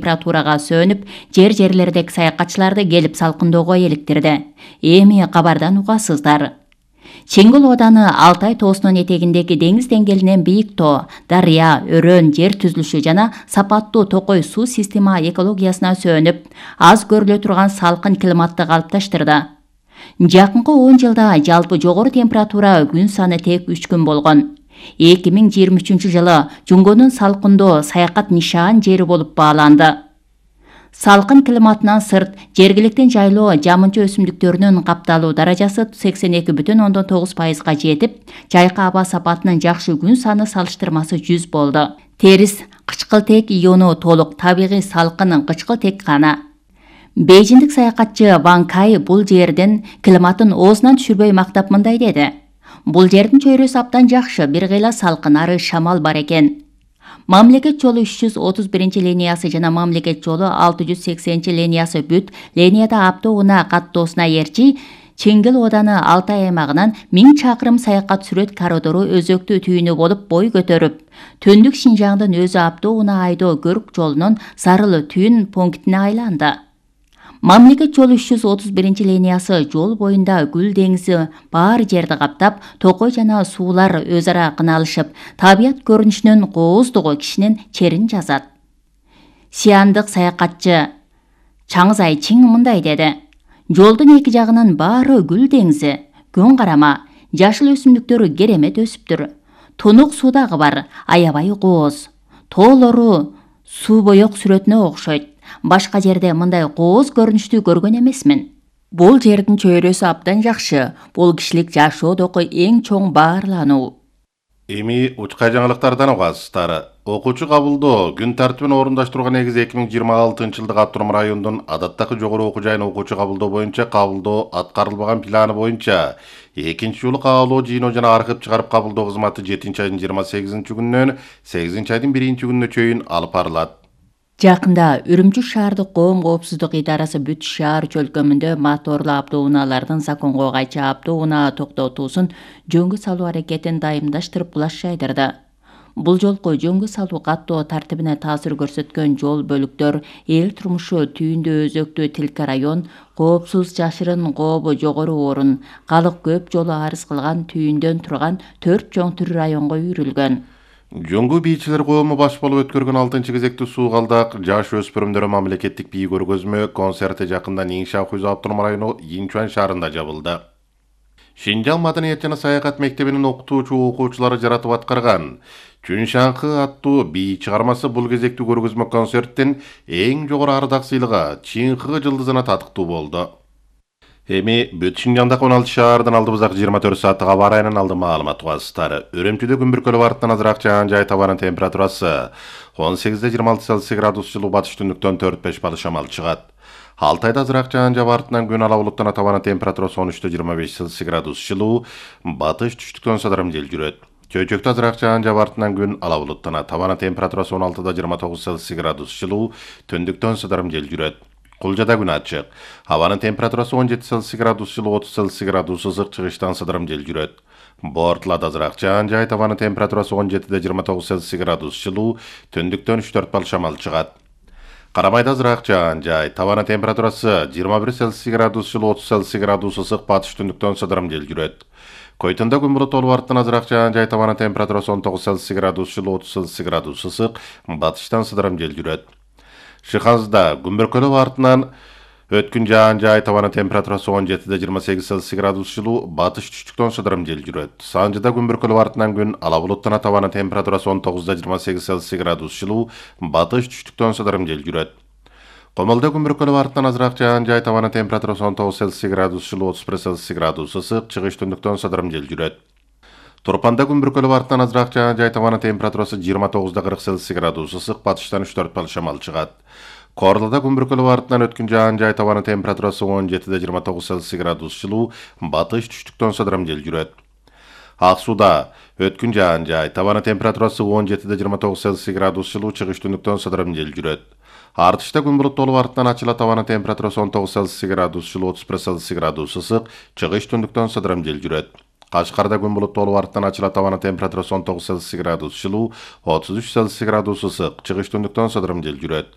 температурага сөнүп, жерлердеги саякатчыларды келип салкындоого эликтирди. Эми кабардан угасыздар. Чеңгил Ооданы Алтай тоосунун этегиндеги деңиз деңгээлинен бийик тоо, дарыя, өрөөн жер түзүлүшү жана сапаттуу токой суу система экологиясына сөнүп, аз көрүлө турган салкын климатты калыпташтырды. Жакынкы 10 жылда жалпы жогору температура күн саны тек 3 күн болгон. 2023-жылы Жунгонун салкындоо саякат нишан жери болуп бааланды. Салкын климатынан сырт, жергиликтин жайлоо жамынча өсүмдүктөрүнүн капталуу даражасы 82,9%га жетип, жайкы аба сапатынын жакшы күн саны салыштырмасы 100 болду. Терис кычкылтек иону толук табигый салкын кычкылтек кана. Бейжиндик саякатчы Ван Кай бул жердин климатын оозунан түшүрбөй мактап мындай деди. Бул жердин чөйрөсү абдан жакшы, бир кыйла салкын, ары шамал бар экен. Мамлекет жолу 330-линиясы жана мамлекет жолу 680-линиясы бүт линияда автоунаа каттоосуна ээрчи Чеңгил Ооданы Алтай аймагынан 1000 чакырым саякат сүрөт коридору өзөктүү түйүнү болуп бой көтөрүп, Төндүк Шинжаңдын өзү автоунаа айдоо көрүк жолунун Сарыл түйүн пунктине айланды. Мамлекет жолу 331-линиясы жол боюнда Гүл деңизи бар жерди каптап, токой жана суулар өз ара кыналышып, табият көрүнүшүнүн кооздугу кишинин черин жазат. Сиандык саякатчы Чаңызай Чиң мындай деди. Жолдун эки жагынын баары Гүл деңизи, күн карама, жашыл өсүмдүктөр керемет өсүптүр. Тунук суу дагы бар, аябай кооз. Тоолору суу боек сүрөтүнө окшойт. Башка жерде мындай кооз көрүнүштү көргөн эмесмин. Бул жердин чөйрөсү абдан жакшы. Бул кишилик жашоодогу эң чоң баарлануу. Эми учка жаңылыктардан угасыздар. Окуучу кабылдоо күн тартибин орундаштырууга негиз 2026-жылдык Автоном районунун адаттагы жогору окуу жайына окуучу кабылдоо боюнча кабылдоо аткарылбаган планы боюнча экинчи жолу каалоо жыйноо жана архив чыгарып кабылдоо кызматы 7-айдын 28-күнүнөн 8-айдын 1-күнүнө чейин алып барылат. Жакында Үрүмчү шаардык коом коопсуздук идарасы бүт шаар чөлкөмүндө моторлуу автоунаалардын законго кайчы автоунаа токтотуусун жөнгө салуу аракетин дайымдаштырып булаш жайдырды. Бул жолку жөнгө салуу каттоо тартибине таасир көрсөткөн жол бөлүктөр эл турмушу түйүндө өзөктүү Тилке район, коопсуз жашырын кообу жогору орун, калык көп жолу арыз кылган түйүндөн турган 4 чоң төр районго үйрүлгөн. Жөнгө бийчилер коому баш болуп өткөргөн 6-кезектүү суугалдак жаш өспүрүмдөр мамлекеттик бий көргөзмө концерти жакында Нинша Хуйзу Автоном району Инчуан шаарында жабылды. Шинжаң маданият жана саякат мектебинин окуучулары жаратып аткарган Чүншаңкы аттуу бий чыгармасы бул кезектүү көргөзмө концерттин эң жогору ардак сыйлыгы Чинхы жылдызына татыктуу болду. Эми бүт Шинжаңдагы 16 шаардын алдыбыздагы 24 сааттык аба ырайынан алды маалымат угасыздар. Үрүмчүдө күн бүркөлүп арттан азыраак жаан жай табанын температурасы 18-26 градус жылуу, батыш түндүктөн 4-5 балы шамал чыгат. Алтайда азыраак жаан жаап артынан күн ала булуттан табанын температурасы 13-25 градус жылуу, батыш түштүктөн садарым жел жүрөт. Чөйчөктө азыраак жаан жаап артынан күн ала булуттан табанын температурасы 16-29 градус жылуу, түндүктөн садарым жел жүрөт. Кулжада күн ачык. Абанын температурасы 17 градус жылуу, 30 градус ысык, чыгыштан сыдырым жел жүрөт. Бортулада азыраак жаан жай, абанын температурасы 17-29 градус жылуу, түндүктөн 3-4 бал шамал чыгат. Карамайда азыраак жаан жай, абанын температурасы 21 градус жылуу, 30 градус ысык, батыш түндүктөн сыдырым жел жүрөт. Койтунда күн булут болуп арттан азыраак жаан жай, абанын температурасы 19 градус жылуу, 30 градус ысык, батыштан сыдырым жел жүрөт. Шыхазда күн бүркөлөп артынан өткүн жаан жай, табанын температурасы 17-28 градус жылуу, батыш түштүктөн сыдырым жел жүрөт. Санжыда күн бүркөлөп артынан күн ала булуттан, табанын температурасы 19-28 градус жылуу, батыш түштүктөн сыдырым жел жүрөт. Комолдо күн бүркөлөп артынан азыраак жаан жай, табанын температурасы 19 градус жылуу, 31 градус ысык, чыгыш түндүктөн сыдырым жел жүрөт. Турпанда күн бүркөлөп арттан азыраак жаан жай, табанын температурасы 29-40 градус ысык, батыштан 3-4 бал шамал чыгат. Корлоодо күн бүркөлөп арттан өткүн жаан жай, табанын температурасы 17-29 градус жылуу, батыш түштүктөн сыдырым жел жүрөт. Ак сууда өткүн жаан жай, табанын температурасы 17-29 градус жылуу, чыгыш түндүктөн сыдырым жел жүрөт. Артышта күн булуттуу арттан ачыла, табанын температурасы 19 градус жылуу, 31 градус ысык, чыгыш түндүктөн сыдырым жел жүрөт. Кашкарда күн булуттуу арттан ачыла, табанын температурасы 19 градус жылуу, 33 градус ысык, чыгыш түндүктөн сыдырым жел жүрөт.